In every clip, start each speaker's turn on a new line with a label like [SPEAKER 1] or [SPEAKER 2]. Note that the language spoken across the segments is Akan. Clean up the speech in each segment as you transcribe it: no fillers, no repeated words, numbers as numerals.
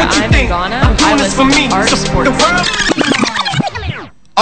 [SPEAKER 1] What you
[SPEAKER 2] I'm in
[SPEAKER 1] think?
[SPEAKER 2] Ghana,
[SPEAKER 1] I'm
[SPEAKER 2] I
[SPEAKER 1] doing this for
[SPEAKER 2] listen to
[SPEAKER 1] me.
[SPEAKER 2] Arc
[SPEAKER 1] So
[SPEAKER 2] Sports.
[SPEAKER 1] the world.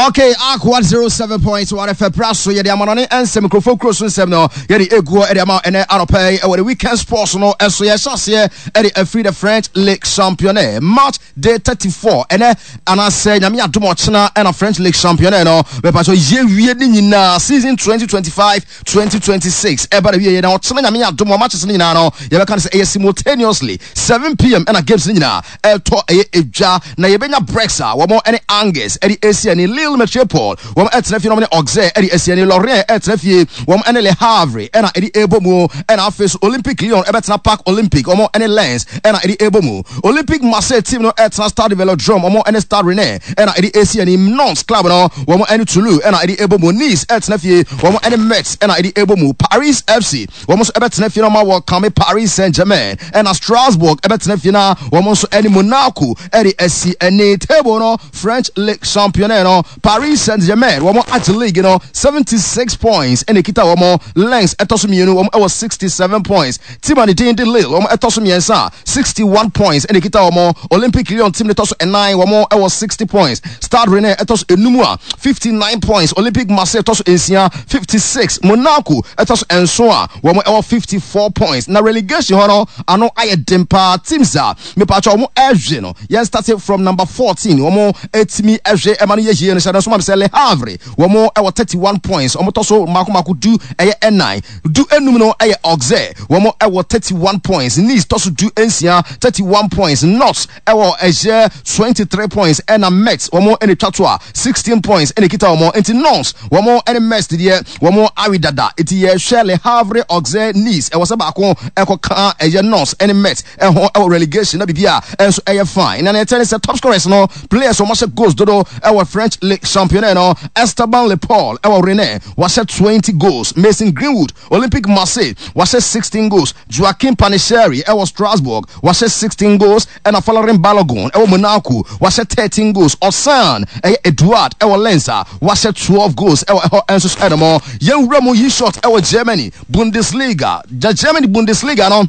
[SPEAKER 3] Okay, Ark 107.1 FM Praso yɛde amanɔne nsɛm nkurɔfoɔ kuro so nsɛm no yɛde eguo ɛde ama ɛnɛ anɔpa yi ɛwɔ the weekend sports no ɛso yɛhyɛ aseɛ ɛde afiri the French League Championnat match day 34 ɛnɛ anaasɛ nyame adom ɔkyena ɛna French League Championnat no mepatɔ yɛwie ne nyinaa season 2025 2026 ɛba na wieɛ na ɔkyena nyame adom a matches no nyinaa no yɛbɛka no sɛ ɛyɛ simultaneously 7pm ɛna games no nyinaa ɛtɔ ɛyɛ edwa na yɛbɛnya breaks a wɔn ɛne Angers ɛde esi ani Lille Metropole wɔn ɛtena fie na wɔn ne Auxerre ɛde esi ani Lorient ɛtena fie wɔn ɛne Le Havre ɛna ɛde ɛbɔ mu ɛna afei so Olympique Lyon ɛbɛtena Parc Olympique wɔn ɛne Lens ɛna ɛde ɛbɔ mu Olympique Marseille team no ɛtena Stade Velodrome wɔn ɛne Stade Rennais ɛna ɛde esi ani Nantes club no wɔn ɛne Toulouse ɛna ɛde ɛbɔ mu Nice ɛtena fie wɔn ɛne Metz ɛna ɛde ɛbɔ mu Paris FC Wɔn nso bɛtena fie na wɔn awɔ kame Paris Saint-Germain, ɛna Strasbourg bɛtena fie na wɔn nso ne Monaco de asi ani. Table no, French Ligue Championnat no, Paris Saint-Germain wɔn agye league no 76 points ɛna ekita wɔn. Lens ɛtɔ so mmienu, wɔn wɔ 67 points. Team a ne din de Lille wɔn ɛtɔ so mmiɛnsa, 61 points ɛna ekita wɔn. Olympique Lyon team no tɔ so ɛnan, wɔn wɔ 60 points. Stade Rennais ɛtɔ so enum a 59 points. Olympique Marseille ɛtɔ so nsia, 56. Monaco ɛtɔ so nson a wɔn ɛwɔ 54 points. Na relegation hɔ no ano ayɛ den paa. Teams a mepatwa wɔn ɛhwe no, yɛn start from number 14 wɔn ɛtumi ɛhwe ɛma no yɛ yie no hyɛ no nso ma me sɛ Le Havre wɔn ɛwɔ 31 points. Wɔn tɔ so mako mako du ɛyɛ ɛnan. Du enum no ɛyɛ Auxerre wɔn ɛwɔ 31 points. Nice tɔ so du nsia 31 points. Nantes ɛwɔ ɛyɛ 23 points ɛna Metz wɔn ɛna etwa to a 16 points ɛna ekita wɔn nti Nantes wɔn ɛne Metz deɛ wɔn awe dada nti yɛhwɛ Le Havre Auxerre Nice ɛwɔ sɛ baako ɛkɔ ka ɛyɛ Nantes ɛne Metz ɛho ɛwɔ relegation na biribi a ɛnso ɛyɛ fine na nea ɛkyɛ ne sɛ top scorers no players wɔn ahyɛ goals dodo ɛwɔ French League Championnat no Esteban Lepaul ɛwɔ Rennes wahyɛ 20 goals Mason Greenwood Olympique Marseille wahyɛ 16 goals Joaquim Panicheri ɛwɔ Strasbourg wahyɛ 16 goals ɛna Folarin Balogun ɛwɔ Monaco wahyɛ 13 goals Ɔsan ɛyɛ Edouard ɛwɔ Lens a wahyɛ 12 goals ɛwɔ ɛhɔ ɛnso so ɛnom yɛnwura mu yi shot ɛwɔ Germany Bundesliga the Germany Bundesliga no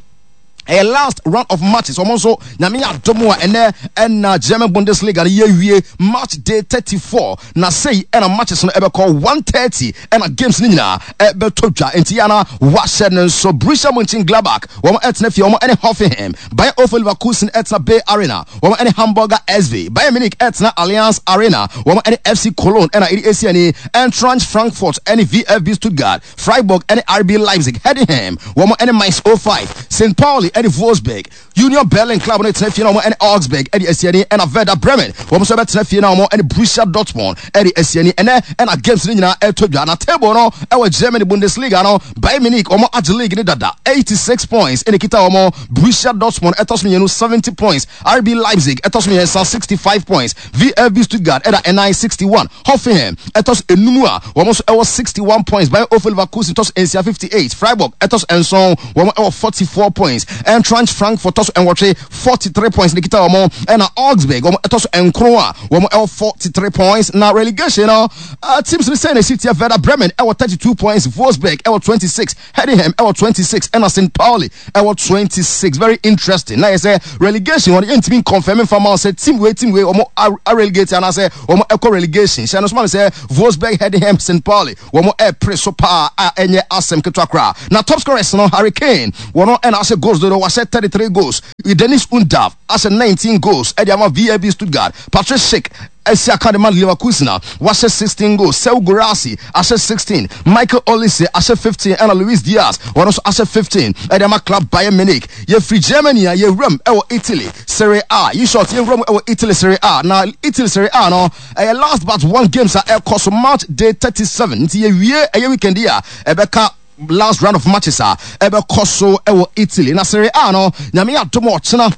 [SPEAKER 3] ɛyɛ last round of matches wɔn nso nyame yɛ adom a ɛnɛ ɛna German Bundesliga no yɛwie match day 34 na sei ɛna matches no ɛbɛkɔ 1:30 ɛna games no nyinaa ɛbɛtɔ dwa nti yɛ ana wahyɛ no nso Borussia Mönchengladbach wɔn ɛtena fie wɔn ɛne Hoffenheim Bayer 04 Leverkusen ɛtena Bay Arena wɔn ɛne Hamburger SV Bayern Munich ɛtena Allianz Arena wɔn ɛne FC Cologne ɛna ɛde esi ani Eintracht Frankfurt ɛne VfB Stuttgart Freiburg ɛne RB Leipzig Heidenheim wɔn ɛne Mainz 05 St. Pauli ɛne Wolfsburg Union Berlin club no tena fie na wɔn ne Augsburg de asi ani ɛna Werder Bremen wɔn nso bɛtena fie na wɔn ne Borussia Dortmund de asi ani ɛnɛ ɛna games no nyinaa ɛtɔ dwa na table no ɛwɔ Germany Bundesliga no Bayern Munich wɔn agye league no dada 86 points ɛna ekita wɔn Borussia Dortmund ɛtɔ so mmienu 70 points RB Leipzig ɛtɔ so mmiɛnsa 65 points VfB Stuttgart ɛda ɛnan 61 Hoffenheim ɛtɔ so enum a wɔn nso ɛwɔ 61 points. Bayer 04 Leverkusen tɔ so nsia 58. Freiburg ɛtɔ so nson wɔn ɛwɔ 44 points. Eintracht Frankfurt tɔ so nwɔtwe 43 points na ekita wɔn. Ɛna Augsburg wɔn ɛtɔ so nkron a wɔn ɛwɔ 43 points. Na relegation no uh, teams no sɛn na esi teɛ Werder Bremen ɛwɔ 32 points, Wolfsburg ɛwɔ 26. Heidenheim ɛwɔ 26 ɛna St Pauli ɛwɔ 26 very interesting na yɛ sɛ relegation wɔn yɛntumi nkɔnfɛm nfa ma sɛ team wei team wei wɔn arelegate anaasɛ wɔn ɛkɔ relegation hyɛ no so ma mi sɛ Wolfsburg Heidenheim St Pauli wɔn ɛpere so paa a ɛnyɛ asɛm ketewa koraa na top scorers no Harry Kane wɔn ɛna ahyɛ goals dodo wahyɛ 33 goals Dennis Undav ahyɛ 19 goals ɛde ama VfB Stuttgart Patrick Schick asi aka de ma Leverkusen a wahyɛ 16 goals, Serhou Guirassy ahyɛ 16, Michael Olise ahyɛ 15 ɛna Luis Diaz wɔn nso ahyɛ 15 ɛde ama club Bayern Munich. Yɛfiri Germany a yɛwuram ɛwɔ Italy Serie A. Yi short yɛwura mu ɛwɔ Italy Serie A na Italy Serie A no ɛyɛ last but one games a ɛkɔ so match day 37 nti yɛwie ɛyɛ weekend yi a ɛbɛka last round of matches a ɛbɛkɔ so ɛwɔ Italy na Serie A no nyame adom ɔkyena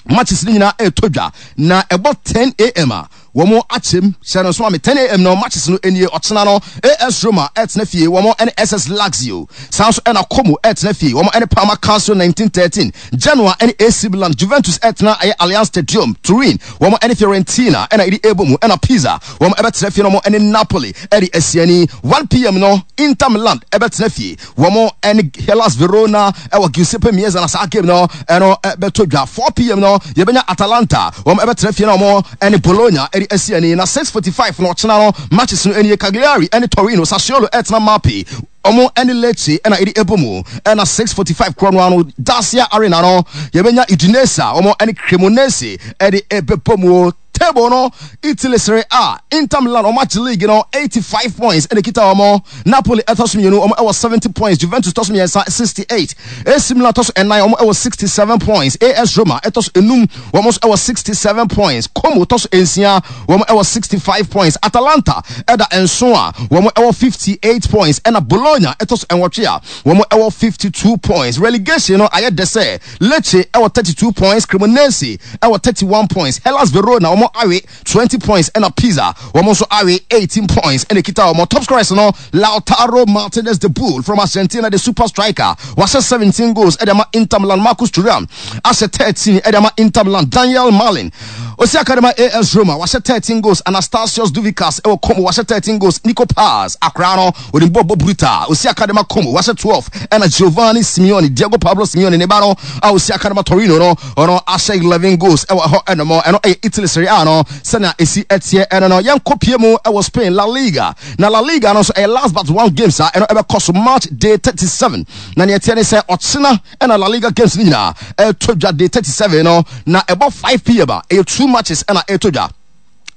[SPEAKER 3] matches no nyinaa ɛretɔ dwa na ɛbɔ 10 am a Wɔn akyɛm hyɛ no nso ma me 10am no matches no nie ɔkyena no AS Roma ɛtena fie wɔn ɛne SS Lazio saa nso ɛna Como ɛtena fie wɔn ɛne Parma Calcio 1913 Genoa ɛne AC Milan Juventus ɛtena ɛyɛ Allianz Stadium Turin wɔn ɛne Fiorentina ɛna ɛde ɛbɔ mu ɛna Pisa wɔn ɛbɛtena fie na wɔn ɛne Napoli ɛde asiani 1pm no Inter Milan ɛbɛtena fie Wɔn ne Hellas Verona wɔ Giuseppe Meazza na saa game no ɛno bɛtɔ dwa. 4pm no yɛbɛnya Atalanta, wɔn bɛtena fie na wɔn ne Bologna de asi ani. Na 6:45 no ɔkyena no matches no nie, Cagliari ne Torino, Sassuolo ɛtena Mapei, wɔn ne Lecce na ɛde ɛbɔ mu. Ɛna 6:45 korɔ no ano Dacia Arena no yɛbɛnya Udinese a wɔn ne Cremonese de ɛbɛbɔ mu. Table no, Italy Serie A, Inter Milan wɔn agye league no 85 points ɛna ekita wɔn. Napoli ɛtɔ so mmienu wɔn ɛwɔ 70 points, Juventus tɔ so mmiɛnsa 68, AC Milan tɔ so ɛnan wɔn ɛwɔ 67 points, AS Roma ɛtɔ so enum wɔn nso ɛwɔ 67 points, Como tɔ so nsia wɔn ɛwɔ 65 points, Atalanta ɛda nson a wɔn ɛwɔ 58 points, ɛna Bologna ɛtɔ so nwɔtwe a wɔn ɛwɔ 52 points. Relegation no ayɛ dɛ sɛ Lecce ɛwɔ 32 points, Cremonese ɛwɔ 31 points, Hellas Verona wɔn awe 20 points ɛna Pisa wɔn nso awe 18 points ɛna ekita wɔn. Top scorers no Lautaro Martinez the Bull from Argentina, the super striker, wahyɛ 17 goals ɛde ama Inter Milan. Marcus Thuram ahyɛ 13 ɛde ama Inter Milan. Daniel Malen osi aka de ma AS Roma wahyɛ 13 goals. Anastasios Douvikas ɛwɔ Como wahyɛ 13 goals. Nico Paz akora no onim bɔ bɔ brutal osi aka de ma Como wahyɛ 12 ɛna Giovanni Simeone, Diego Pablo Simeone ne ba no a osi aka de ma Torino no ɔno ahyɛ 11 goals ɛwɔ ɛhɔ ɛnom. Ɛno ɛyɛ Italy Serie A no sɛnea esi ɛteɛ ɛno no. Yɛnkɔ pie mu ɛwɔ Spain La Liga, na La Liga no nso ɛyɛ last but one games a ɛno ɛbɛkɔ so match day 37, na nea ɛteɛ ne sɛ ɔkyena ɛna La Liga games no nyinaa ɛtɔ dwa day 37 no, na ɛbɔ 5pm a ɛyɛ two matches ɛna ɛtɔ dwa.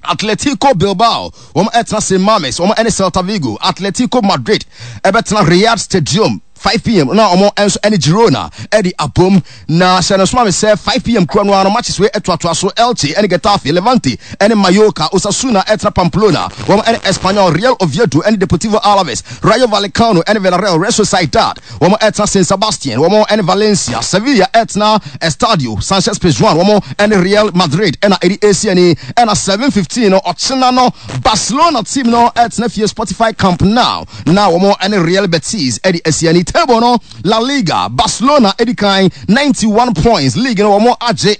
[SPEAKER 3] Atletico Bilbao wɔn ɛtena St Mames, wɔn ɛne Celta Vigo. Atletico Madrid ɛbɛtena Riyadh Stadium 5pm na wɔn nso ɛne Girona ɛde abom. Na hyɛ no soma me sɛ 5pm kura no ano matches wei ɛtoatoa so: Elche ɛne Getafe, Levante ɛne Mallorca, Osasuna ɛtena Pamplona, wɔn ɛne Espanyol, Real Oviedo ɛne Deportivo Alaves, Rayo Vallecano ɛne Villarreal, Real Sociedad wɔn ɛtena San Sebastian, wɔn ɛne Valencia, Sevilla ɛtena Estadio Sanchez Pizjuan, wɔn ɛne Real Madrid ɛna ɛde esi ani. Ɛna 7:15 no ɔkyena no Barcelona team no ɛtena fie Spotify Camp Nou na wɔn ɛne Real Betis ɛde esi ani. Table no, La Liga, Barcelona ɛdi kan 91 points, league no wɔn agye.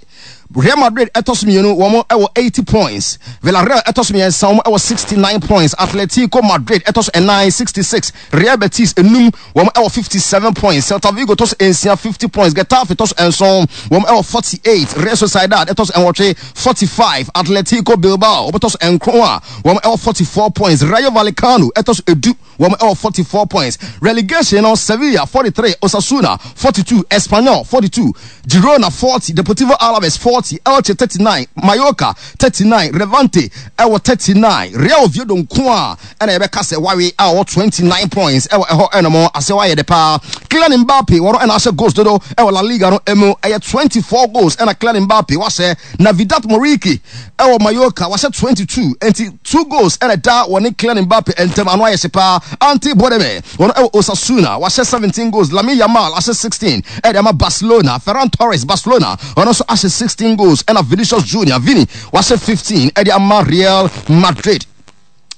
[SPEAKER 3] Real Madrid ɛtɔ so mmienu, wɔn ɛwɔ 80 points. Villarreal ɛtɔ so mmiɛnsa, wɔn ɛwɔ 69 points. Atletico Madrid ɛtɔ so ɛnan, 66. Real Betis enum, wɔn ɛwɔ 57 points. Celta Vigo tɔ so nsia, 50 points. Getafe tɔ so nson, wɔn ɛwɔ 48. Real Sociedad ɛtɔ so nwɔtwe, 45. Atletico Bilbao wɔn tɔ so nkron a wɔn ɛwɔ 44 points. Rayo Vallecano ɛtɔ so edu, wɔn ɛwɔ 44 points. Relegation no, Sevilla 43, Osasuna 42, Espanyol 42, Girona 40, Deportivo Alaves 40, Elche 39, Mallorca 39, Levante ɛwɔ 39, Real Oviedo nko a ɛna yɛbɛka sɛ wawe a ɔwɔ 29 points ɛwɔ ɛhɔ ɛnom asɛ wayɛ de paa. Kylian Mbappe wɔn ɛna ahyɛ goals dodo ɛwɔ La Liga no emu, ɛyɛ 24 goals ɛna Kylian Mbappe wahyɛ. Na Vedat Muriqi ɛwɔ Mallorca wahyɛ 22, nti two goals ɛna ɛda wɔne Kylian Mbappe ntam, ano ayɛ hye paa. Ante Budimir wɔn ɛwɔ Osasuna wahyɛ 17 goals. Lamine Yamal ahyɛ 16 ɛde ama Barcelona. Ferran Torres, Barcelona, ɔno nso ahyɛ 16 goals, ɛna Vinicius Junior, Vini, wahyɛ 15 ɛde ama Real Madrid.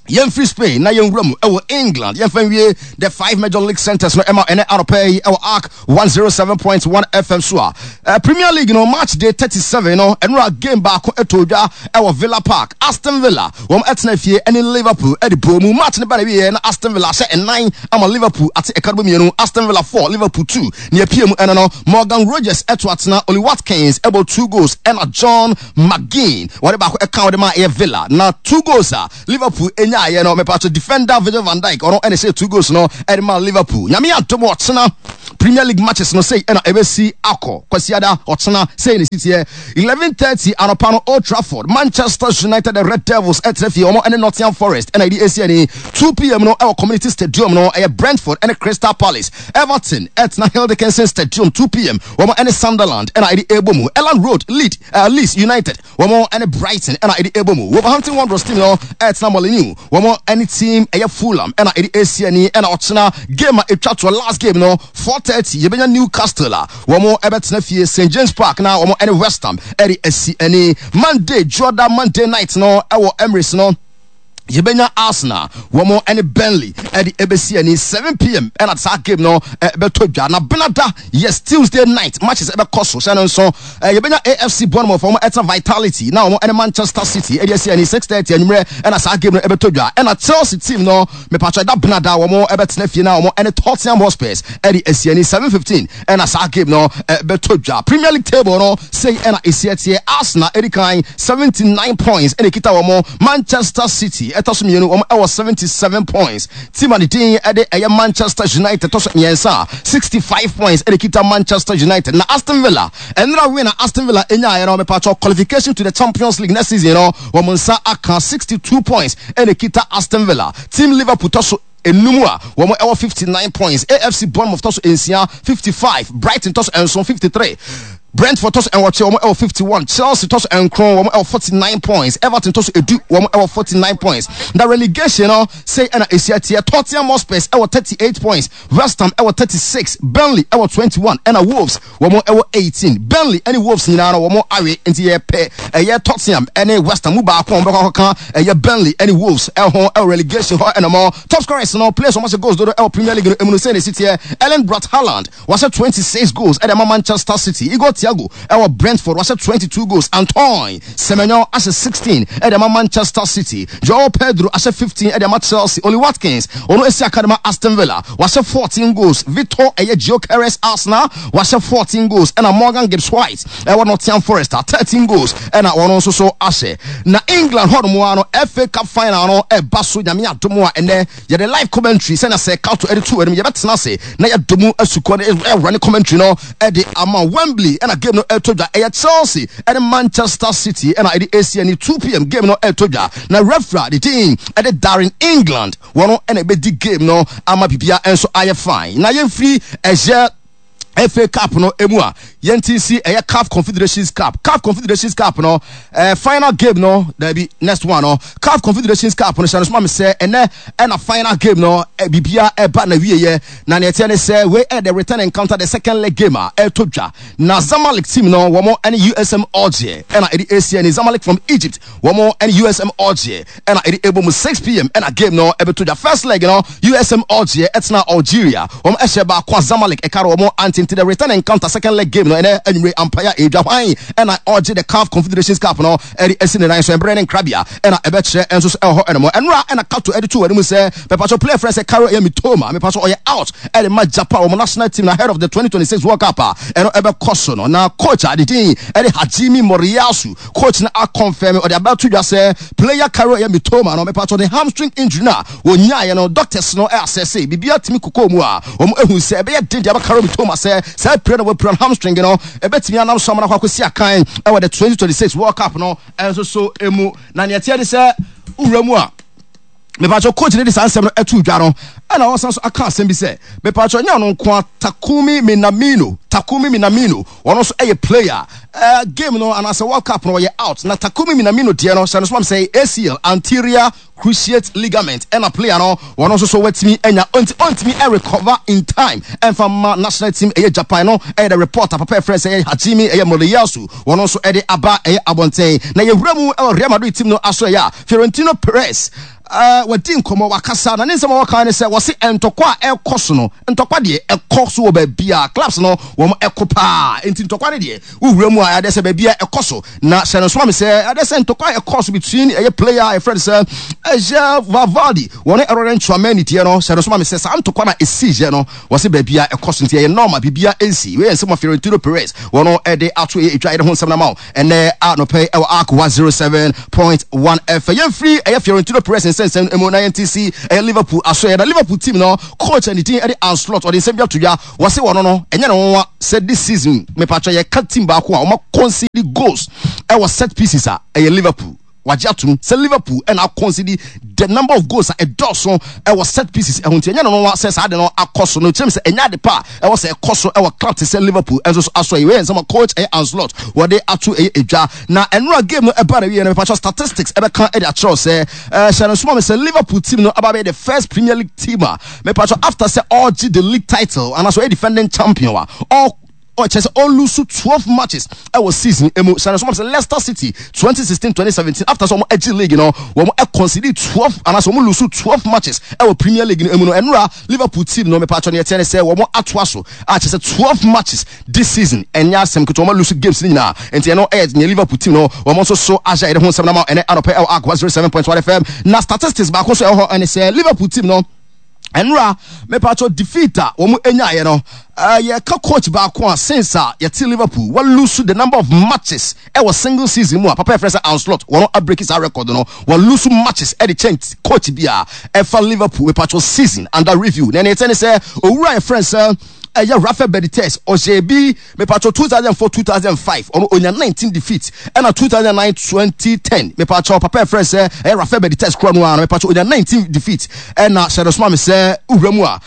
[SPEAKER 3] Yɛmfiri Spain na yɛnwura mu ɛwɔ England. Yɛmfa nwie the five major league centers no ɛma ɛnɛ anɔpa yi ɛwɔ Arc 107.1 FM so a Premier League no match day 37 no, ɛnora game baako ɛtɔ dwa ɛwɔ Villa Park. Aston Villa wɔn ɛtena fie ɛne Liverpool ɛde bɔ mu. Match no ba na wieɛ na Aston Villa ahyɛ ɛnan ama Liverpool ate ɛka no mmienu, Aston Villa 4, Liverpool 2. Nea pie mu ɛno no, Morgan Rogers ɛto atena, Oli Watkins ɛbɔ two goals, ɛna John McGinn wɔde baako ɛka wɔde ma ɛyɛ Villa. Na two goals a Liverpool enyaayɛ no, mepatro defender Virgil van Dijk ɔno ɛna ɛhyɛ two goals no ɛde ma Liverpool. Nyame adom, ɔkyena Premier League matches no sei ɛna ɛbɛsi akɔ. Kwasiada ɔkyena sei ne siteɛ: 11:30 anɔpa no, Old Trafford, Manchester United, the Red Devils, ɛtena fie, wɔn ɛne Nottingham Forest ɛna ɛde esi ani. 2pm no ɛwɔ Community Stadium no, ɛyɛ Brentford ɛne Crystal Palace. Everton ɛtena Hill Dickinson Stadium, 2pm, wɔn ɛne Sunderland ɛna ɛde ɛbɔ mu. Elland Road, Leeds United wɔn ɛne Brighton ɛna ɛde ɛbɔ mu. Wolverhampton Wanderers team no ɛtena Molineux. Wɔn ɛne team ɛyɛ Fulham ɛna ɛde ɛsi ani ɛna ɔkyena game a ɛtwa toɔ last game no 4:30 yɛbɛnya Newcastle a wɔn ɛbɛtena fie St James Park na wɔn ɛne West Ham ɛde asi ani. Monday dwoɔda Monday night no ɛwɔ Emirates no yɛbɛnya Arsenal wɔn ɛne Burnley ɛde ɛbɛsi ani 7pm ɛna saa game no ɛbɛtɔ dwa. Na benada yes Tuesday night matches ɛbɛkɔ so hyɛ no nso yɛbɛnya AFC Bournemouth wɔn ɛtena Vitality na wɔn ɛne Manchester City ɛde asi ani 6:30 anwummerɛ ɛna saa game no ɛbɛtɔ dwa. Ɛna Chelsea team no mepatwa ɛda benada wɔn ɛbɛtena fie na wɔn ɛne Tottenham Hotspurs ɛde asi ani 7:15 ɛna saa game no ɛbɛtɔ dwa. Premier League table no sei ɛna esi ɛteɛ. Arsenal ɛdi kan 79 points ɛna ekita wɔn. Manchester City ɛtɔ so mmienu wɔn ɛwɔ 77 points. Team a ne din ɛde ɛyɛ Manchester United ɛtɔ so mmiɛnsa 65 points ɛna ekita Manchester United. Na Aston Villa ɛnra win a Aston Villa enyaeɛ no mepatwɔ qualification to the Champions League next season no wɔn nsa aka 62 points ɛna ekita Aston Villa. Team Liverpool tɔ so enum a wɔn ɛwɔ 59 points. AFC Bournemouth tɔ so nsia 55. Brighton tɔ so nson 53. Brentford tɔ so nwɔtwe wɔn ɛwɔ 51. Chelsea tɔ so nkron wɔn ɛwɔ 49 points. Everton tɔ so edu wɔn ɛwɔ 49 points. Na relegation no sei ɛna esi ɛteɛ. Tottenham Hotspurs ɛwɔ 38 points. West Ham ɛwɔ 36. Burnley ɛwɔ 21 ɛna Wolves wɔn ɛwɔ 18. Burnley ɛne Wolves nyinaa no wɔn awe nti yɛ pɛ ɛyɛ Tottenham ɛne West Ham mu baako a wɔn bɛkɔ akɔka ɛyɛ Burnley ɛne Wolves ɛho ɛwɔ relegation hɔ ɛna mo top scorers no players wɔn ahyɛ goals dodo ɛwɔ Premier League no emu no sei na esi teɛ. Erling Braut Haaland wahyɛ 26 goals ɛde ama Manchester City. Igor Thiago ɛwɔ Brentford wahyɛ 22 goals. Antoine Semenyo ahyɛ 16 ɛde ama Manchester City. Joao Pedro ahyɛ 15 ɛde ama Chelsea. Ollie Watkins ɔno esi aka de ma Aston Villa wahyɛ 14 goals. Victor ɛyɛ Gyökeres Arsenal wahyɛ 14 goals ɛna Morgan Gibbs White ɛwɔ Nottingham Forest a 13 goals ɛna wɔn nso so ahyɛ. Na England hɔ nom ara no FA Cup final no ɛba so nyame adom a ɛnɛ yɛde live commentary sɛnea sɛ Kato ɛde to anim yɛbɛtena ase na yɛdɔ mu asukɔ no ɛwura ne commentary no ɛde ama Wembley ɛna game no ɛtɔ dwa ɛyɛ Chelsea ɛne Manchester City ɛna ɛde asi ani 2pm game no ɛtɔ dwa na referee de din ɛde Darren England wɔn ɛna ɛbɛdi game no ama bibia nso ayɛ fine. Na yɛmfiri ɛyɛ FA Cup no emu a yɛnti nsi ɛyɛ CAF Confederations Cup. CAF Confederations Cup no final game no dabi next one no CAF Confederations Cup no hyɛ no soma me sɛ ɛnɛ ɛna final game no bibia ɛba na wieyɛ. Na nea ɛteɛ ne sɛ wei ɛyɛ the return encounter, the second leg game a ɛtɔ dwa. Na Zamalek team no wɔn ɛne USM Alger ɛna ɛde asi ani. Zamalek from Egypt wɔn ɛne USM Alger ɛna ɛde ɛbɔ mu 6pm ɛna game no ɛbɛtɔ dwa. First leg no USM Alger ɛtena Algeria wɔn ɛhyɛ baako a Zamalek ɛka no wɔn ante. Nti the return encounter second leg game no ɛnɛ anwummere ampaeɛ a ɛredwa hwan ɛna ɔgye the CAF Confederations Cup no ɛde asi ne nan so. Ɛberɛ ne nkrabea ɛna ɛbɛkyerɛ nso so ɛwɔ hɔ ɛnom. Ɛnora ɛna Kato ɛde to anim sɛ mepatso player frɛ sɛ Karo ɛyɛ Mitoma mepatso ɔyɛ out ɛde ma Japan wɔn national team na ahead of the 2026 World Cup a ɛno ɛbɛkɔ so no. Na coach a de din ɛde Hajime Moriyasu coach no akɔnfɛm ɔde abɛto dwa sɛ player Karo ɛyɛ Mitoma no mepatso ne hamstring injury no a wɔnyaeɛ no doctors no ɛasɛse biribiara tumi kokoo mu a wɔn ehu sɛ ɛbɛyɛ den de ama Karo Mitoma sɛ saa pira na wɔapira no hamstring no ɛbɛtumi anam so amana akɔ akɔsi akan ɛwɔ the 2026 World Cup no ɛnso so emu. Na nea ɛteɛ ne sɛ wura mu a mepatwɔ coach ne de saa nsɛm no ɛto dwa no ɛna ɔsan so aka asɛm bi sɛ mepatwɔ nyɛ ɔno nko a Takumi Minamino Takumi Minamino ɔno nso ɛyɛ player game no anaasɛ World Cup no ɔyɛ out. Na Takumi Minamino deɛ no hyɛ no so mam sɛ ACL anterior cruciate ligament ɛna player no wɔn nso so watumi anya nti ɔntumi ɛrecover in time ɛnfa ma national team ɛyɛ Japan no ɛyɛ the report papa ɛfrɛ sɛ ɛyɛ Hajime ɛyɛ Moriyasu wɔn nso ɛde aba ɛyɛ abɔnten. Na yɛwura mu ɛwɔ Real Madrid team no aso ɛyɛ a Florentino Perez wadi nkɔmmɔ wakasa na ne nsɛm a wɔka ne sɛ wɔse ntɔkwa a ɛkɔ so no ntɔkwa deɛ ɛkɔ so wɔ baabi a clubs no wɔn ɛkɔ paa nti ntɔkwa no deɛ wowura mu a ɛde sɛ baabi a ɛkɔ so. Na hyɛ no nso ma me sɛ ɛde sɛ ntɔkwa a ɛkɔ so between ɛyɛ player a yɛfrɛ no sɛ ɛyɛ Valverde wɔne Aurelien Tchouameni deɛ no hyɛ no nso ma me sɛ saa ntɔkwa na ɛsi yɛ no wɔse baabi a ɛkɔ so nti ɛyɛ normal biribiara ɛnsi. Wei yɛ nsɛm a Florentino Perez wɔn ɛde ato ɛyɛ edwa yɛde ho nsɛm no ama wo ɛnɛ anɔpɛ yi ɛwɔ Ark 107.1 FM. Yɛmfiri ɛyɛ Florentino Perez nsɛnsɛm mu na yɛnte si ɛyɛ Liverpool aso ɛyɛ na Liverpool team no coach a ne din ɛde Arne Slot ɔde nsɛm bi ato dwa wɔse wɔn no ɛnyɛ ne nwanwa sɛ this season mepatwa yɛka team baako a wɔn concede goals ɛwɔ set pieces a ɛyɛ Liverpool. Wagye atom sɛ Liverpool na akɔnsidi the number of goals a ɛdɔɔso wɔ set pieces ho nti ɛnyɛ no nwanwa sɛ saa ade no akɔ so. Na ɔkyerɛ mu sɛ ɛnyɛ ade pa a ɛwɔ sɛ ɛkɔ so wɔ club te sɛ Liverpool nso so aso. Wei yɛ nsɛm a coach ɛyɛ Arne Slot wɔde ato ɛyɛ edwa. Na ɛnora game no ɛbaa n'awieɛ no, mepakyɛw statistics ɛbɛka de akyerɛ wo sɛ hyɛ no nso ma me sɛ Liverpool team no aba abɛyɛ the first Premier League team a mepakyɛw after sɛ ɔregye the league title anaasɛ ɔyɛ defending champion a ɔ Ɔkyerɛ sɛ ɔlusu 12 matches ɛwɔ season emu. Hyɛ no nso ma sɛ Leicester City 2016-2017 after sɛ wɔn agye league no, wɔn concede 12 anaasɛ wɔn lusu 12 matches ɛwɔ Premier League no emu no. Ɛnora Liverpool team no mepatwɔ neɛ ɛteɛ ne sɛ wɔn atoa so a kyerɛ sɛ 12 matches this season ɛnyɛ asɛm ketewa, wɔn alusu games no nyinaa. Nti ɛno ɛyɛ neɛ Liverpool team no wɔn nso so ahyɛ yɛde ho nsɛm no ama ɛnɛ anɔpɛ ɛwɔ Ark 107.1 FM. Na statistics baako nso ɛwɔ hɔ ɛne sɛ Liverpool team no Ɛnora mepatwɔ defeat a wɔn nyaeɛ no, yɛka coach baako a since a yɛte Liverpool wa lose the number of matches ɛwɔ single season mu a papa yɛfrɛ sɛ Arne Slot, wɔn abreki saa record no, wa lose matches ɛde kyɛn coach bi a ɛfa Liverpool mepatwɔ season under review. Na ɛne ɛtɛ ne sɛ owura yɛfrɛ sɛ ɛyɛ Rafa Benitez, ɔhyɛ bi Mepatwɔ 2004 2005 ɔno onya 19 defeat, ɛna 2009 2010 mepatwɔ papa ɛfrɛ sɛ ɛyɛ Rafael Benitez korɔ no ara no, mepatwɔ onya 19 defeat. Ɛna hyɛ no soma me sɛ wura mu a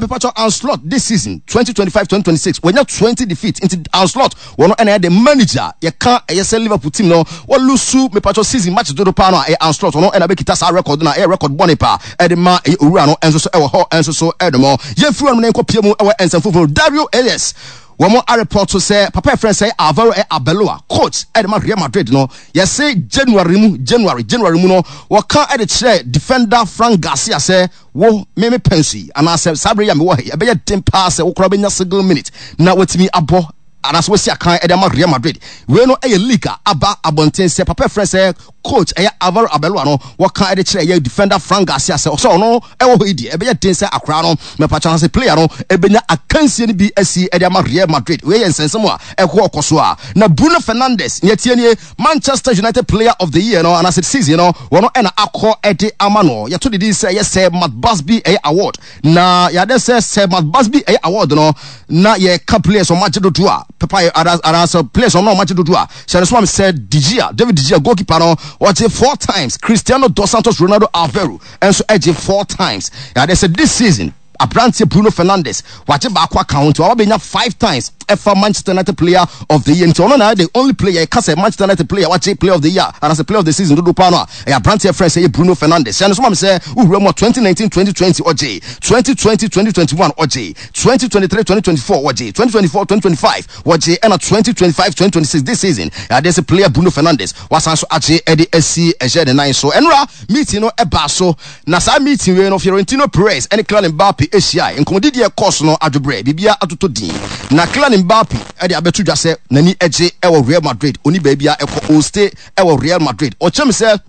[SPEAKER 3] mepatwɔ Arne Slot this season 2025 2026 wanya 20 defeat. Nti Arne Slot wɔn ɛna ɛyɛ the manager yɛka ɛyɛ sɛ Liverpool team no wɔlusu mepatwɔ season match dodo paa no a ɛyɛ Arne Slot, ɔno ɛna bɛkita saa record no a ɛyɛ record bɔne paa ɛde ma ɛyɛ owura no ɛnso so ɛwɔ hɔ ɛnso so ɛnomɔ. Yɛmfiri hɔ nom na yɛnkɔ pie mu ɛwɔ nsɛm foforɔ. Dario Arias wɔn arepɔto sɛ papa yɛfrɛ sɛ Alvaro ɛ Arbeloa, coach ɛde ma Real Madrid no, yɛse January mu January January mu no wɔka ɛde kyerɛ defender Frank Garcia sɛ wo me me pɛnso yi anaasɛ saa bere yi a mewɔ ha yi ɛbɛyɛ den paa sɛ wokora bɛnya single minute na watumi abɔ anaasɛ wasi akan ɛde ama Real Madrid. Wei no ɛyɛ league a aba abɔnten sɛ papa yɛfrɛ sɛ coach ɛyɛ Alvaro Arbeloa no wɔka ɛde kyerɛ ɛyɛ defender Frank Garcia sɛ ɔsɛ ɔno ɛwɔ hɔ yi deɛ ɛbɛyɛ den sɛ akora no mɛpakyɛ sɛ player no ɛbɛnya akansie no bi asi ɛde ama Real Madrid. Wei yɛ nsɛnsɛm a ɛkɔ ɔkɔ so a na Bruno Fernandes nea tie nie, Manchester United player of the year no anaasɛ season no wɔn ɛna akɔ ɛde ama no. Yɛto didi sɛ ɛyɛ Sir Matt Busby ɛyɛ award, na yɛade sɛ Sir Matt Busby ɛyɛ award no na yɛka players wɔn agye dodo a pepa yɛ anaasɛ players wɔn na wɔn agye dodo a hyɛ no so ma sɛ De Gea, David De Gea, goalkeeper no wɔgye four times, Cristiano dos Santos Ronaldo Aveiro nso ɛgye four times. Yɛade sɛ this season aberanteɛ Bruno Fernandes wagye baako aka ho nti waba bɛnya five times ɛfa Manchester United player of the year. Nti ɔno na the only player ɛka sɛ Manchester United player wagye player of the year anaasɛ player of the season dodo paa no a ɛyɛ aberanteɛ frɛ sɛ ɛyɛ Bruno Fernandes. Hyɛ no so ma me sɛ wowura mu a 2019-2020 ɔgye, 2020-2021 ɔgye, 2023-2024 wɔgye, 2024-2025 wɔgye, ɛna 2025-2026 this season adeɛ sɛ player Bruno Fernandes wasan so agye ɛde asi ɛhyɛ ne nan so. Ɛnora meeting no ɛbaa so, na saa meeting wei no Fiorentino Perez ɛne Kylian Mbappe ahyiae. Nkɔmmɔdidi a ɛkɔɔ so no adwobrɛ biribiara atotɔ din, na Kylian Mbappe ɛde abɛto dwa sɛ n'ani gye ɛwɔ Real Madrid, ɔni baabi a ɛkɔ, ɔstay ɛwɔ Real Madrid. Ɔkyerɛ me sɛ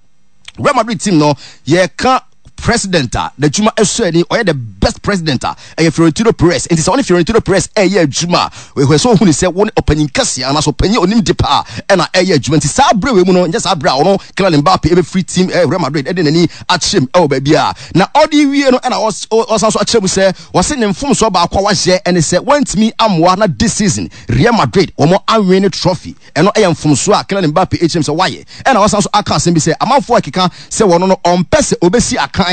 [SPEAKER 3] Real Madrid team no yɛka president a n'adwuma ɛsɔ ani, ɔyɛ the best president a ɛyɛ Florentino Perez. Nti sɛ ɔne Florentino Perez ɛyɛ adwuma a, ɛhwɛ sɛ ɔhunu sɛ wɔne ɔpanyin kɛseɛ anaasɛ ɔpanyin onim de paa ɛna ɛyɛ adwuma. Nti saa berɛ wei mu no nyɛ saa berɛ a ɔno Kylian Mbappe ɛbɛfiri team Real Madrid ɛde n'ani akyerɛ mu ɛwɔ baabi a na ɔde wie no. Ɛna ɔsan so akyerɛ mu sɛ wɔse ne mfomsoɔ baako a wahyɛ ɛne sɛ wantumi amoa na this season Real Madrid wɔn anwene ne trophy. Ɛno yɛ mfomsoɔ a Kylian Mbappe kyerɛ mu sɛ wayɛ. Ɛna wasan nso aka asɛm bi sɛ amanfoɔ rekeka sɛ wɔno no ɔmpɛ sɛ ɔbɛsi akan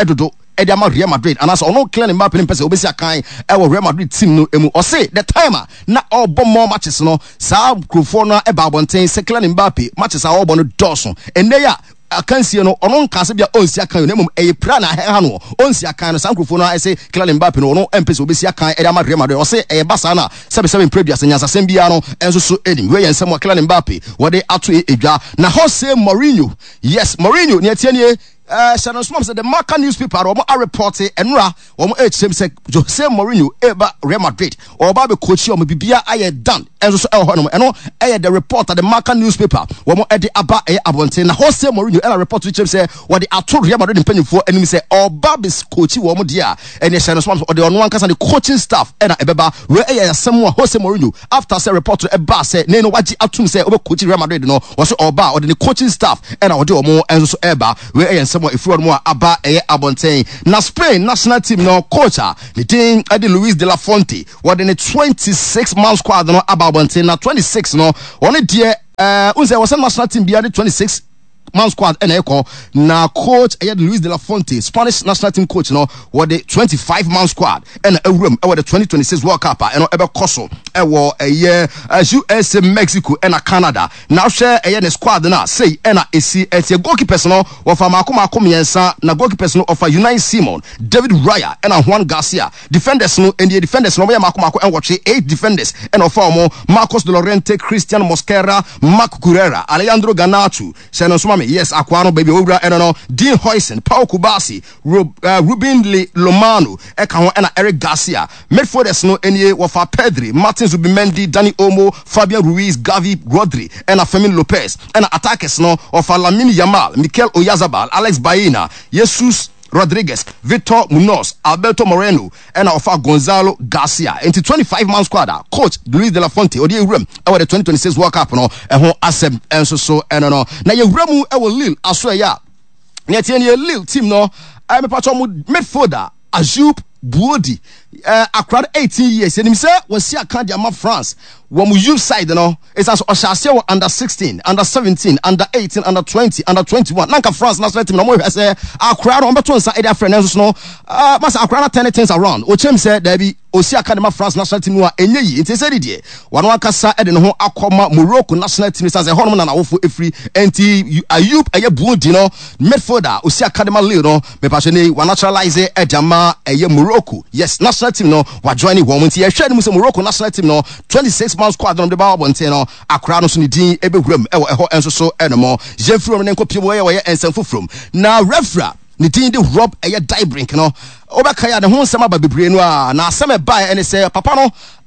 [SPEAKER 3] dodo de ama Real Madrid anaasɛ ɔno Kylian Mbappe no mpɛ sɛ ɔbɛsi akan wɔ Real Madrid team no mu. Ɔse the time a na ɔrebɔ more matches no saa nkurɔfoɔ no ba abɔnten sɛ Kylian Mbappe matches a ɔrebɔ no dɔɔso. Ɛnnɛ yi a akansie no ɔno nkaa sɛ bia ɔnsi akan o, na mmom ɛyɛ pira na ɛha no ɔnsi akan no. Saa nkurɔfoɔ no ara se Kylian Mbappe no ɔno mpɛ sɛ ɔbɛsi akan de ama Real Madrid. Ɔse ɛyɛ ba saa no a sɛbesɛbe mprɛ aduasa nyansasɛm biara no nso so nnim. Wei yɛ nsɛm a Kylian Mbappe wɔde ato dwa. Na Jose Mourinho, yes Mourinho, nea ɛteɛ nie, hyɛ no nso sɛ The Marca newspaper no wɔn arepɔte ɛnora wɔn ɛrekyerɛ mu sɛ Jose Mourinho ɛreba Real Madrid, ɔreba abɛkɔkyi wɔn, biribiara ayɛ done ɛnso so ɛwɔ hɔnom. Ɛno ɛyɛ the report the Marca newspaper wɔn ɛde aba ɛyɛ abɔnten. Na Jose Mourinho ɛna report no kyerɛ mu sɛ wɔde ato Real Madrid mpanyinfoɔ anim sɛ ɔreba abɛkɔkyi wɔn deɛ a ɛne ɛhyɛ no so ɔde ɔno ankasa ne coaching staff ɛna ɛbɛba. Wei ɛyɛ asɛm a Jose Mourinho after sɛ report no ɛbaa sɛ ne no wagye atum sɛ ɔbɛkɔkyi Real Madrid no, wɔsɛ ɔreba a ɔde ne coaching staff ɛna ɔde wɔn nso so ɛreba. Wei ɛyɛ nsɛm a ɛfiri hɔnom a aba ɛyɛ abɔnten. Na Spain national team no coach a ne din ɛde Luis de la Fuente, wɔde ne 26 man squad no aba abɔnten. Na 26 no wɔn deɛ ɛɛ n sɛ wɔsɛ national team biara de 26 man squad ɛna ɛkɔ na coach ɛyɛ Luis de la Fuente Spanish national team coach no wɔde 25 man squad ɛna awuram ɛwɔ the 2026 World Cup a ɛno ɛbɛkɔ so ɛwɔ ɛyɛ USA Mexico ɛna Canada na ahwɛ ɛyɛ ne squad no a sei ɛna esi ɛteɛ goalkeepers no wɔfa maako maako mmiɛnsa na goalkeepers no ɔfa Unai Simon David Raya ɛna Juan Garcia defenders no ɛnie defenders no wɔyɛ maako maako ɛnwɔtwe eight defenders ɛna ɔfa wɔn Marcos de Llorente Christian Mosquera Marc Cucurella Alejandro Garnacho hyɛ no nso ma me yes akoa no baabi a wɔwura ɛno no Dean Huijsen Pau Cubarsi Rub, uh, Ruben Le Lomano ɛka ho ɛna Eric Garcia. Midfielders no nie wɔfa Pedri, Martin Zubimendi, Dani Olmo, Fabian Ruiz, Gavi, Rodri ɛna Fermin Lopez. Ɛna attackers no wɔfa Lamine Yamal, Mikel Oyarzabal, Alex Baena, Jesus Rodriguez, Victor Munoz, Alberto Moreno ɛna ɔfa Gonzalo Garcia. Nti 25 man squad a coach Luis de la Fuente ɔde ewuram ɛwɔ the 2026 World Cup no ɛho asɛm ɛnso so ɛno no. Na yɛwura mu ɛwɔ Lille aso ɛyɛ a Nea ɛteɛ nie, Lille team no, eh, mepatɔ mo midfielder Ayoub Bouaddi, eh, akora no 18 years, yɛnim sɛ wasi aka de ama France wɔ mo youth side no, ɛsiane sɛ ɔhyɛ aseɛ wɔ under 16, under 17, under 18, under 20, under 21, na nka France national team na wɔhwɛ sɛ akora no wɔbɛto nsa de afrɛ no nso no, uh, masa akora no turn things around, ɔkyerɛ m sɛ daabi, Ɔsi aka de ma France national team no a, ɛnyɛ yie. Nti ɛsɛ de deɛ, wano ankasa de ne ho akɔma Morocco national team no ɛsiane sɛ ɛhɔnom na n'awofo firi. Nti Ayoub ɛyɛ Bouaddi no, midfielder a ɔsi aka de ma Lille no, mepakyɛ nnɛ yi wanaturalise de ama ɛyɛ Morocco. Yes, national team no, wajoine wɔn. Nti yɛhwɛ anim sɛ Morocco national team no, 26 man squad no de ba abɔnten no, akwadaa no nso ne din bɛwura mu wɔ ɛhɔ nso so nom. Yɛmfiri hɔ no nkɔpie mu ɛyɛ wɔyɛ nsɛm foforɔ mu. Na referee a ne din de Rob ɛyɛ Daibrink no, wobɛkae a ne ho nsɛm aba bebree no a, na asɛm ɛbaeɛ ɛne sɛ papa no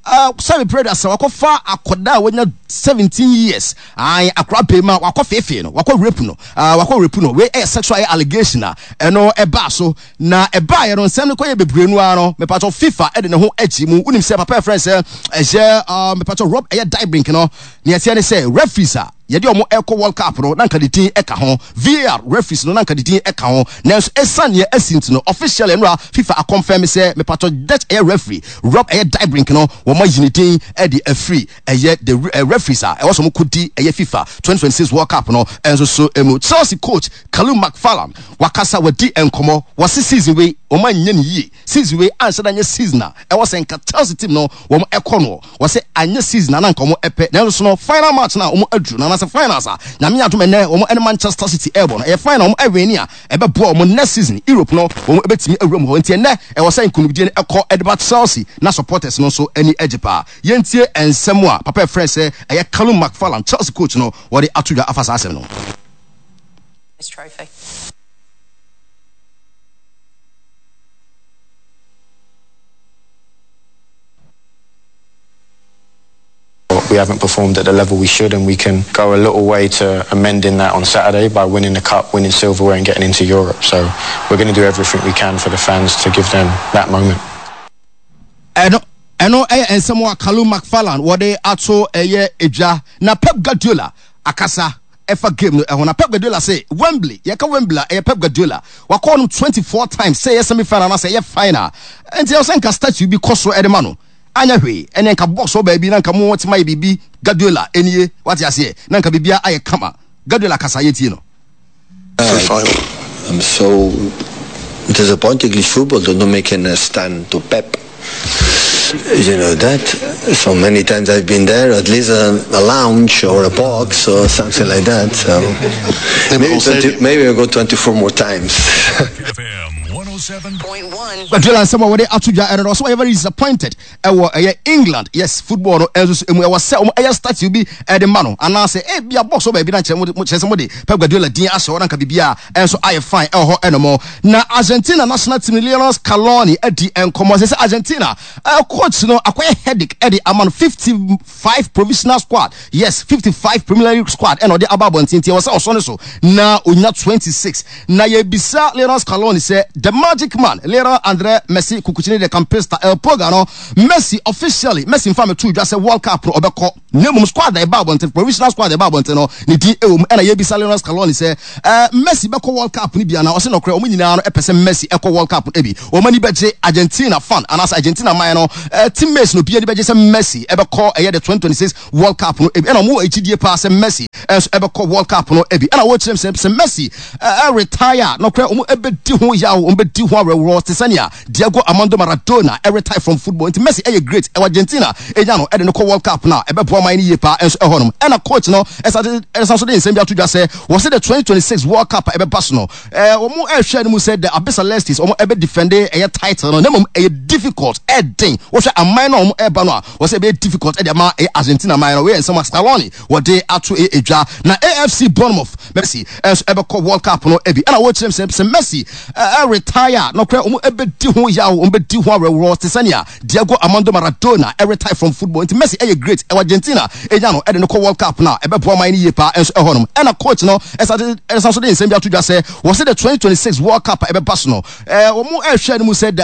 [SPEAKER 3] uh, sɛ bebree da sɛ wakɔfa akɔda a wanya 17 years ae akora bɛma wakɔ feefee no wakɔ rape no uh, wakɔ rape no wei ɛyɛ sexual allegation a ɛno ɛbaa so na ɛbaeɛ no nsɛm no kɔyɛ bebree no ara no mepatɔ FIFA ɛde ne ho agyi mu wonim sɛ papa ɛfrɛ sɛ ɛyɛ uh, mepatɔ Rob ɛyɛ Daibrink no neɛ ɛteɛ ne sɛ referees a Yɛde wɔn rekɔ World Cup no, na anka ne din ka ho. VAR referees no, na anka ne din ka ho. Nanso esiane nea asi nti no, officially nnora FIFA akɔnfɛme sɛ mepatɔ Dutch ɛyɛ referee Rob ɛyɛ Diebrink no, wɔayi ne din de afiri ɛyɛ the referees a ɛwɔ sɛ wɔkɔdi ɛyɛ FIFA 2026 World Cup no nso so mu. Chelsea coach Callum McFarlane wakasa, wadi nkɔmmɔ, wɔse season wei wɔanyɛ no yie. Season wei anhyɛ da nyɛ season a ɛwɔ sɛ nka Chelsea team no wɔn ɛkɔ noɔ. Wɔse anyɛ season a na nka wɔn ɛpɛ nanso so no final match no a wɔn aduru no anaasɛ finals a Nyame adom ɛnɛ wɔn ɛne Manchester City ɛrebɔ no ɛyɛ final wɔn ɛwini a ɛbɛboa wɔn next season Europe no wɔn ɛbɛtumi awura mu hɔ nti ɛnɛ ɛwɔ sɛ nkunimdie no ɛkɔ ɛde ba Chelsea na supporters no nso ani agye paa. Yɛntie nsɛm a papa ɛfrɛ sɛ ɛyɛ Callum McFarlane Chelsea coach no wɔde ato dwa afa saa asɛm no ho.
[SPEAKER 1] Trophy.
[SPEAKER 2] We haven't performed at the level we should, and we can go a little way to amending that on Saturday by winning the cup, winning silverware, and getting into Europe. So we're going to do everything we can for the fans to give them that moment.
[SPEAKER 3] ɛno ɛno ɛyɛ nsɛm a Callum McFarlane wɔde ato ɛyɛ edwa na Pep Guardiola akasa ɛfa game no ɛho na Pep Guardiola se Wembley yɛka Wembley a ɛyɛ Pep Guardiola wakɔ no 24 times sɛ ɛyɛ semi final anaasɛ ɛyɛ final nti ɛwɔ sɛ nka statue bi kɔ so ɛde ma no anyɛ hwee ɛne nka box hɔ baabi na nka mo te ma yɛ biribi Guardiola ɛnie wate aseɛ na nka biribia ayɛ kama Guardiola kasa yɛtie no.
[SPEAKER 4] I'm so disappointed English football don't make a stand to Pep. You know that. So many times I've been there, at least a, a lounge or a box or something like that. So maybe, 20, maybe I'll go 24 more times.
[SPEAKER 3] Guardiola nsɛm a wɔde ato dwa ɛno no ɔsɛ wɔyɛ very disappointed ɛwɔ ɛyɛ England yes football no ɛnso so emu ɛwɔ sɛ wɔn ɛyɛ statue bi ɛde ma no anaasɛ ebi a box wɔ baabi na kyerɛ mo kyerɛ sɛ mo de Pep Guardiola din ahyɛ hɔ na nka biribi a ɛnso ayɛ fine ɛwɔ hɔ ɛnom na Argentina national team Lionel Scaloni adi nkɔmɔ sɛ sɛ Argentina coach no akɔyɛ headache ɛde ama no 55 provisional squad yes 55 preliminary squad ɛna ɔde aba abɔnten nti ɛwɔ sɛ ɔsɔ ne so na onya 26 na yɛbisa Lionel Scaloni sɛ the man Magic Man Lionel Andre Messi Cuccittini de Campista El Pulga no Messi officially Messi nfa meto dwa sɛ World Cup no ɔbɛkɔ na mmom squad a ɛba abɔnten, provisional squad a ɛba abɔnten no ne din ɛwɔ mu. Ɛna yɛbisa Lionel Scaloni sɛ ɛɛ Messi bɛkɔ World Cup no bi anaa? Ɔse nɔkorɛ wɔn nyinaa no ɛpɛ sɛ Messi ɛkɔ World Cup no bi. Wɔn ani bɛgye Argentina fan anaasɛ Argentina man no ɛɛ teammates no obiara ani bɛgye sɛ Messi ɛbɛkɔ ɛyɛ the 2026 World Cup no bi. Ɛna wɔn wɔ akyidie paa sɛ Messi ɛnso ɛbɛkɔ World Cup no bi. Ɛna wɔkyerɛ mu sɛ sɛ Messi ɛɛ retire a nɔkorɛ wɔn ɛbɛdi ho yaw, wɔn bɛdi ho awerɛworɔ te sɛnea Diego Armando Maradona retire from football nti Messi ɛyɛ great ɛwɔ Argentina enya no ɛde no kɔ World Cup no a ɛbɛboa man no yie paa nso ɛhɔ nom. Ɛna coach no ɛsan ɛsan so de nsɛm bi ato dwa sɛ wɔse the 2026 World Cup a ɛbɛba so no ɛɛ wɔn ɛrehwɛ no mu sɛ the Albicelestes wɔn ɛbɛ defend ɛyɛ title no na mmom ɛyɛ difficult ɛden wɔhwɛ aman no a wɔn ɛreba no a wɔsɛ ɛbɛyɛ difficult ɛde ama ɛyɛ Argentina man no. Wei yɛ nsɛm a Scaloni wɔde ato edwa. Na AFC Bournemouth Messi nso ɛbɛkɔ World Cup no bi. Ɛna wɔkyerɛ mu sɛ sɛ Messi retire a nɔkorɛ wɔn ɛbɛdi ho yaw, wɔn bɛdi ho awerɛworɔ te sɛnea Diego Armando Maradona retire from football. Nti Messi ɛyɛ great ɛwɔ Argentina enya no ɛde no kɔ World Cup no a ɛbɛboa man no yie paa nso ɛhɔ nom. Ɛna coach no ɛsan so de nsɛm bi ato dwa sɛ wɔsɛ the 2026 World Cup a ɛbɛba so no wɔn ɛrehwɛ no mu sɛ the